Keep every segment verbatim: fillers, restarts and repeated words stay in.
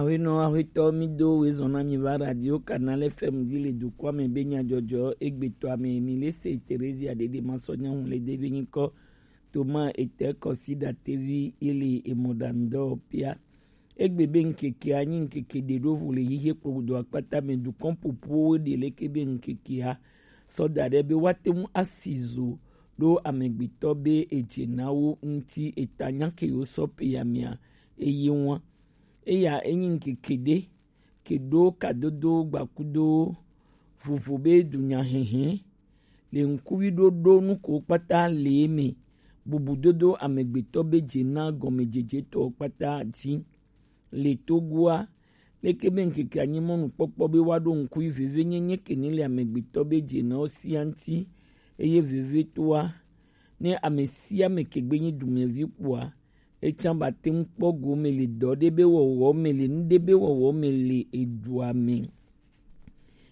Ahuenɔ ahuetɔ, mi do wezɔn na mi va Radio Canal F M dzi le dukɔa me be nyadzɔdzɔ egbetɔa me. Mi le se Theresia Dede Masɔ Nyahu le de be nyikɔ Toma ete kɔsi datevi ye le emɔ ɖa ŋdɔ pia. Egbe be ŋkeke anyi ŋkeke ɖe ɖo vo le xixia kpɔ gudo akpata me dukɔn popo ɖe leke be ŋkekea sɔ da ɖe be woate ŋu asi zo ɖo amegbetɔ be edze na wo ŋuti eta nya ke yewo sɔ pe ya mea eye ŋua. Eya enyi ŋkeke ɖe ke ɖo kadodo gbakudo vovo be dunyahehe le ŋkuvi ɖoɖo nuko kpata le eme, bubudodo amegbetɔ be dze na gɔmedzejetɔ kpata dzi. Le Togoa, leke be ŋkeke anyi mɔnukpɔkpɔ be woaɖo ŋkuvi vevenyenye ke ne le amegbetɔ be dze na wo sia ŋuti, eye vevetoa, ne ame sia ame ke gbe nyi dumevi kpoa, etsã ba te ŋu kpɔ gome le dɔ ɖe be wɔwɔ me, le nu ɖe be wɔwɔ me le edua me.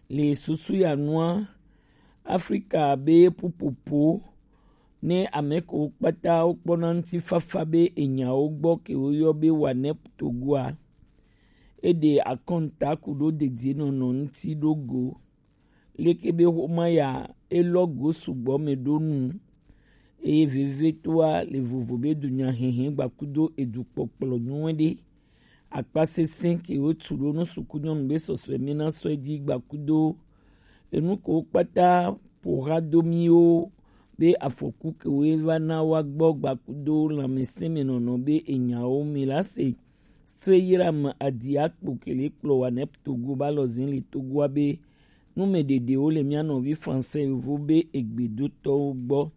Le susu ya nua, Afrika be ƒuƒoƒo ne ame kewo kpata wokpɔna ŋutifafa be enyawo gbɔ ke woyɔ be WANEP Togoa, eɖe akɔnta ku ɖo dedienɔnɔ ŋuti ɖo go. Leke be xoma ya elɔ go sugbɔ me ɖo nu, eye vevetoa le vovo be dunyahehe gbakudo edukpɔkplɔ nyuie ɖe. Akpa sesẽ ke wotu ɖo nu suku nyɔnu be sɔsɔe mi na sɔ edzi gbakudo enu ko kpata ƒo xa do miwo be afɔku ke wo va na wa gbɔ gbakudo lãmesẽ me nɔnɔ be enyawo mi la se. Se yram adi akpo ke le kplɔ WANEP Togo ba lɔ zin le Togoa be numeɖeɖewo le mía nɔvi Français yovo be egbedotɔwo gbɔ.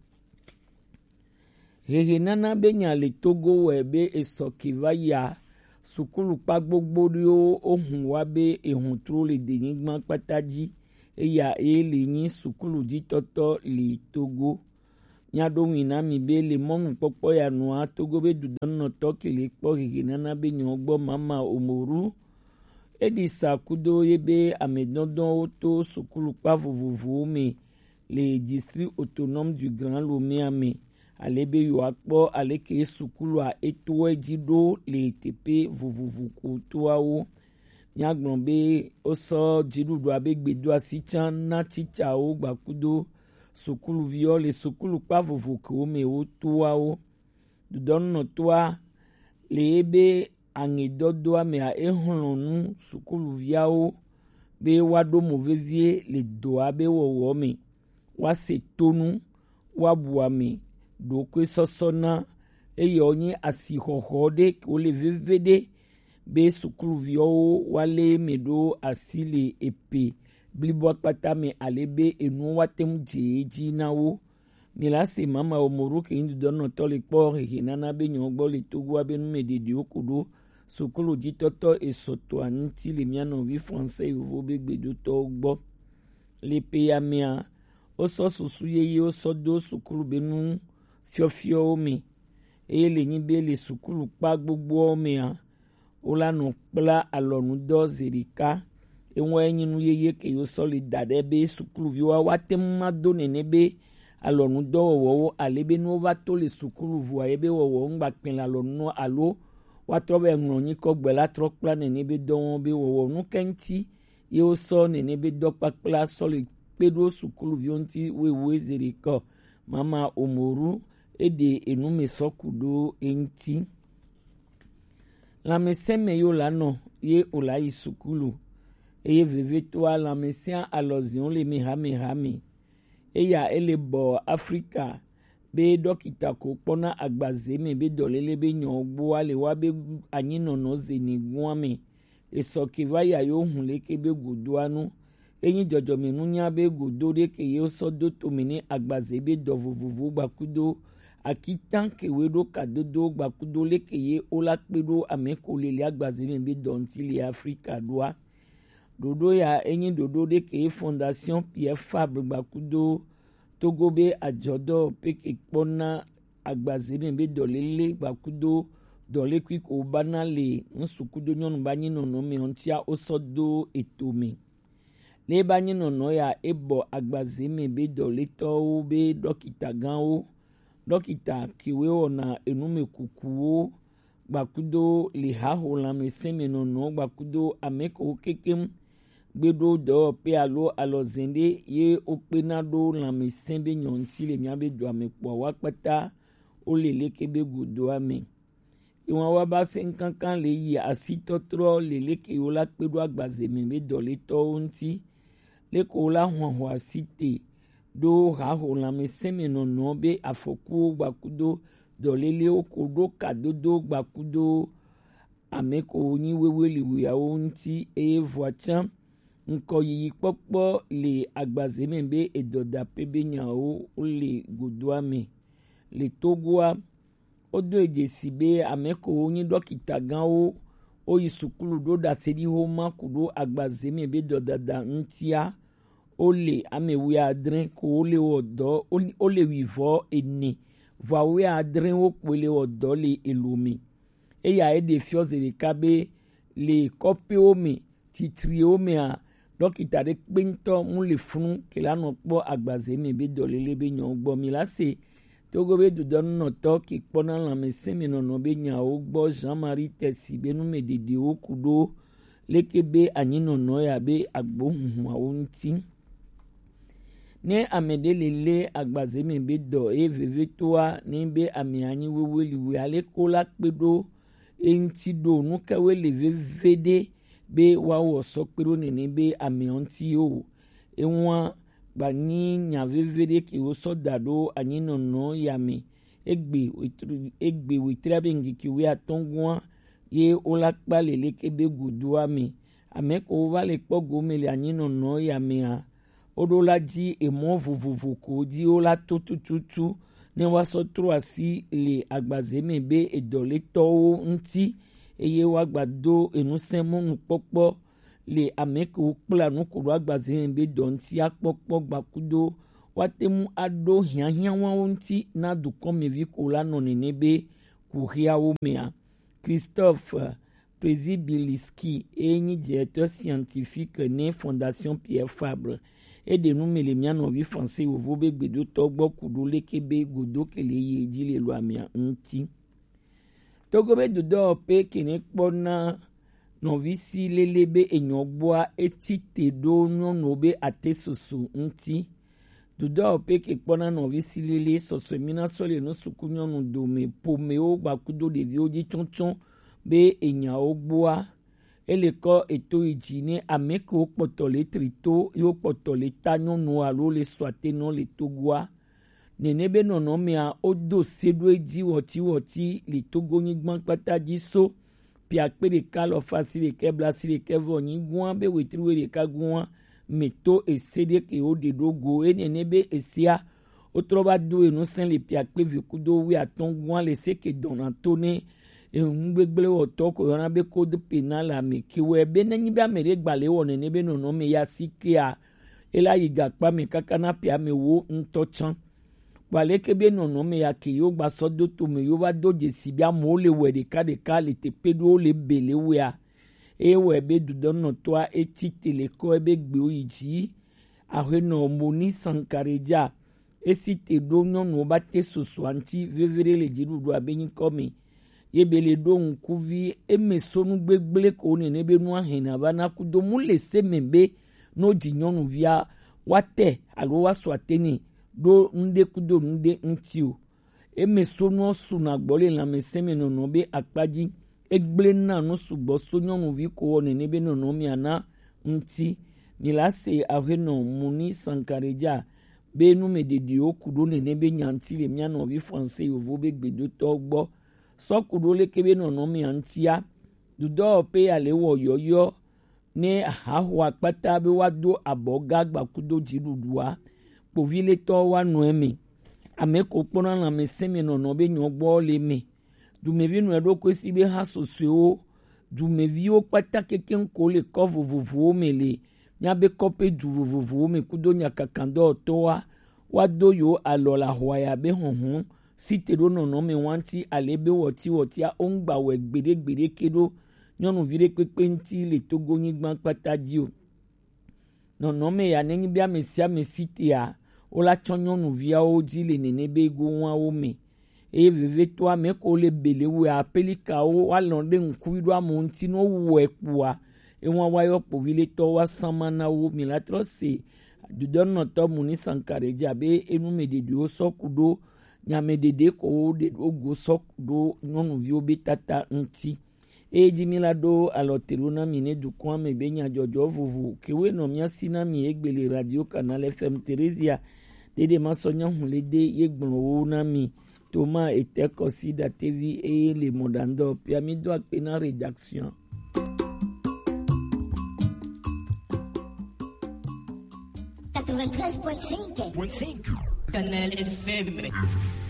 Hehe nana be nya le Togo wɛ be esɔ ke va ya sukulu kpa gbogbo ɖewo ohun wa be ehun tro le denyigba kpata dzi, eya ye le nyi sukulu dzitɔtɔ le Togo. Mía ɖo ŋui na mi be le mɔnukpɔkpɔ ya nua, Togo be dudɔnɔtɔ ke le kpɔ hehe nana be nyɔ gbɔ Mama Omoru. Eɖi sa kudo ye be amedɔdɔwo to sukulu kpa vovovowo me le District Autonome du Grand Lomé me, ale be yewoakpɔ aleke sukulua etoe dzi ɖo le teƒe vovovo ko toawo. Míagblɔ be wosɔ dziɖuɖua be gbedoasi tsã na titsawo gbakudo sukuluviwo le sukulu kpa vovo kewo me wotoawo. Dudɔnɔtoa le ebe aŋedɔdoa mea, exlɔ̃ nu sukuluviawo be woaɖo mo vevie le dɔa be wɔwɔ me, woase tonu, woabu ame, ɖokuisɔsɔ na, eye wònye asixɔxɔ ɖe wòle veviɖe be sukuluviwo woalé eme ɖo asi le epe blibo akpata me ale be enuwo woate ŋu dze edzi na wo. Mi la se Mama Omoru ke nyi dudɔnɔtɔ le kpɔ hehe nana be nyɔwo gbɔ le Togoa be numeɖeɖewo ko ɖo sukulu dzitɔtɔ esɔtɔa ŋuti le mía nɔvi Français yovo be gbedotɔwo gbɔ. Le pe ya mea, wosɔ susu yeye wosɔ do sukulu be nu fiɔfiɔwo me, eye le nyi be le sukulu kpa gbogboawo mea, wola nɔ kpla alɔnudɔ zeɖeka. Eŋua enyi nu yeye ke yo sɔ le da ɖe be sukuluviwo woate ŋu ma do nene be alɔnudɔwɔwɔwo ale be ne wova to le sukulu vɔa ye be wɔwɔ ŋgba kpɛ le alɔnu alo woatrɔ be ŋlɔ nyikɔ gbe la trɔ kpla nene be dɔwɔn be wɔwɔ nu ke ŋuti ye wosɔ nene be dɔkpakpla sɔ le kpe ɖo sukuluviwo ŋuti wewe zeɖeka. Mama Omoru eɖe enu me sɔ ku ɖo eŋuti. Lãmesẽ me yo la nɔ ye o la yi sukulu, eye vevetoa lãmesẽa alɔziwo le meha meha me. Eya ele bɔ Afrika be ɖɔkita ko kpɔna agbaze me be dɔlele be nyɔ gboa le wa be anyinɔnɔ zeni gua me. Esɔ ke va ya yo hun leke be godoa nu. Enyi dzɔdzɔmenunya be godo ɖe ke ye sɔ do tome ne agbaze be dɔ vovovo gbakudo akitan ke we ɖo kadodo gbakudo leke ye o la kpe ɖo ame ko lele agbaze me be dɔ ŋuti le Afrika ɖoa. Ɖoɖo ya enyi ɖoɖo ɖe ke Fondation Pierre Fabre gbakudo Togo be adzɔdɔ pe ke kpɔna agbaze me be dɔlele gbakudo dɔlekui ko bana le ŋsu kudo nyɔnu ba nyi nɔnɔ me ŋutia wosɔ do eto me. Le ba nyi nɔnɔ ya ebɔ agbaze me be dɔletɔwo be ɖɔkita gãwo, ɖɔkita kewo wɔna enume kukuwo, gbakudo le haho lanmɛsɛn mɛ nɔnɔ gbakudo amɛ ko kekem gbe ɖo dɔwɔƒe alo alɔzɛn ɖe ye wokpena ɖo lanmɛsɛn be nyɔ ŋuti le mía be dua me kpɔa wa kpata wole leke be godoa me. Iwan wa ba se ŋkankan le yi asitɔtrɔ le leke wo la kpe ɖo agbaze me be dɔletɔwo ŋuti. Leke wo la hwanhwa asi te ɖo haho lanmɛsɛn me nɔnɔ be afɔkuwo gbakudo dɔlelewo ko ɖo kadodo gbakudo ame ko nyi wewe liwuiawo ŋuti eye vɔa tsã ŋkɔ yiyi kpɔkpɔ le agbaze me be edɔdaƒe be nyawo wole godoa me. Le Togoa, wodo dzesi be ame ko wonyi ɖɔkita gãwo woyi sukulu ɖo ɖaseɖi homa ku ɖo agbaze me be dɔdada ŋutia. Wole ame wuiadre ko wole wɔ dɔ, wole wuivɔ ene, vɔa wuiadre wo kpoe le wɔ dɔ le elo me. Eya eɖe fiɔ ze ɖeka be le kɔƒewo me, titriwo mea, ɖɔkita ɖe kpe ŋutɔ mu le funu ke la nɔ kpɔ agbaze me be dɔlele be nyawo gbɔ. Mi la se Togo be dodɔnunɔtɔ ke kpɔna lanmɛsɛn me nɔnɔ be nyawo gbɔ Jean-Marie Tesi be nu me ɖeɖewo ku ɖo leke be anyinɔnɔ ya be agbohunhuawo ŋuti. Ne ame ɖe le lé agbaze me be dɔ eye vevetoa ne be ame anyi wewe liwe ale ko la kpe ɖo eŋuti ɖo nu kawoe le veve ɖe be woawɔ sɔ kpe ɖo nene be ameɔ ŋuti o. Eŋua gbanyi nya veve ɖe ke wosɔ da ɖo anyinɔnɔ ya me. Egbe wetri egbe wetri abe ŋkeke wuiatɔ̃ gua ye wola kpa le leke be godoa me. Ame ko wova le kpɔ gome le anyinɔnɔ ya mea, woɖo la dzi emɔ vovovo ko dzi wola to tututu ne woasɔ trɔ asi le agbaze me be edɔletɔwo ŋuti eye woagbado enusẽ mɔnukpɔkpɔ le ame kewo kpla nu ko ɖo agbaze me be dɔ ŋuti akpɔkpɔ gbakudo woate ŋu aɖo hiahiãwawo ŋuti na dukɔmevi ko la nɔ nene be kuxiawo mea. Christophe Prezibiliski eye nyi directeur scientifique ne Fondation Pierre Fabre. Eɖe nu me le mía nɔvi français yovo be gbedotɔ gbɔ ku ɖo leke be godo ke le yi edzi le lo amea ŋuti. Togo be dodɔwɔƒe ke ne kpɔna nɔvi si lele be enyɔ gbɔa etsi te ɖo nyɔnuwo be ate soso ŋuti. Dodɔwɔƒe ke kpɔna nɔvi si lele sɔsɔe mina sɔ le nu suku nyɔnu dome pomewo gbakudo ɖeviwo dzi tsɔtsɔ be enyawo gbɔa ele kɔ eto yi dzi ne ame kewo kpɔtɔ le trito yewo kpɔtɔ le ta nyɔnu alo le sɔatenɔ le Togoa. Nene be nɔnɔmea wodo se ɖo edzi wɔtiwɔti le Togo nyigba kpata dzi so piakpe ɖeka alɔfa si ɖekɛ bla si ɖekɛ vɔ nyi gua be wetri we ɖeka gua me to ese ɖe ke wo ɖe ɖo go eye nene be esea wotrɔ va do enu sɛn le piakpe vi kudo wi atɔ̃ gua le se ke dɔna to ne enu gbegble wɔtɔ ko yɔna be code pénal ame ke wɛ be ne nyi be ame ɖe gba le wɔ nene be nɔnɔme ya si kea ela yi gakpa me kaka na pia me wo ŋutɔ tsã. Kpɔ aleke be nɔnɔme ya ke yewo gba sɔ do to me yewo va do dzesi be amewo le wɛ ɖeka ɖeka le teƒe ɖewo le be le wea. Eye wɔe be dudɔnɔtɔa etsi te le kɔ ebe gbewo yi dzi. Ahenɔ Moni Sankaredza esi te ɖo nyɔnuwo ba te sosoa ŋuti veve ɖe le dziɖuɖua be nyikɔ me. Ye be le ɖo ŋkuvi eme so nu gbegble ko nene be nua hɛna va na kudo mu le se me be no dzi nyɔnuvia wa te alo wa sɔ atene ɖo nuɖe kudo nuɖe ŋuti o. Eme so nua su na gbɔ le lãmesẽ me nɔnɔ be akpa dzi. Egble na nu sugbɔ so nyɔnuvi ko wɔ nene be nɔnɔ mia na ŋuti. Mi la se ahenɔ Moni Sankaredza be nu me ɖeɖiwo ku ɖo nene be nya ŋuti le mia nɔvi français yovo be gbedotɔ gbɔ. Sɔ ku ɖo leke be nɔnɔmea ŋutia, dudɔwɔƒe ya le wɔ yɔyɔ ne haho akpata be woado abɔ ga gbakudo dziɖuɖua. Kpoviletɔwo wa nɔ eme. Ame ko kpɔna lãmesẽ me nɔnɔ be nyɔgbɔ le me. Dumevi nɔe ɖokui si be ha susɔewo, dumeviwo kpata kekeŋ ko le kɔ vovovowo me le míabe kɔƒe du vovovowo me kudo nyakakadɔwɔtɔwoa, woado yewo alɔ le ahwaya be hɔhlɔ̃ si te ɖo nɔnɔme wa ŋuti ale be wɔtiwɔtia woŋgba wɔe gbeɖe gbeɖe ke ɖo nyɔnuvi ɖe kpekpe ŋuti le Togo nyigba kpata dzi o. Nɔnɔme ya nenyi be ame sia ame si tea, wola tsɔ nyɔnuviawo dzi le nene be gowawo me. Eye vevietɔ amɛ ko le bele wɛ apelikawo wa lɔn ɖe ŋkuvi ɖo amewo ŋuti nɔ wɛ kpoa, ewa wa yɔ kpovi le tɔ wa sama na wo. Mi la trɔ se dudɔnɔtɔ Muni Sankare dzi abe enu mɛ ɖeɖewo sɔ ku ɖo nyamɛ ɖeɖe ko wo ɖe ɖo go sɔ ku ɖo nyɔnuviwo be tata ŋuti. Eye dzi mi la ɖo alɔ te ɖo na mi ne dukɔa me be nyadzɔdzɔ vovo kewe nɔ mia si na mi egbe le Radio Canal F M Theresia ɖeɖe ma sɔ nya hu le de ye gblɔ wo na mi. Thomas Eteko si datevi eye le mɔɖaŋdɔ pia mi do akpe na rédaction. Quatre-vingt-treize point cinq. Canal F M.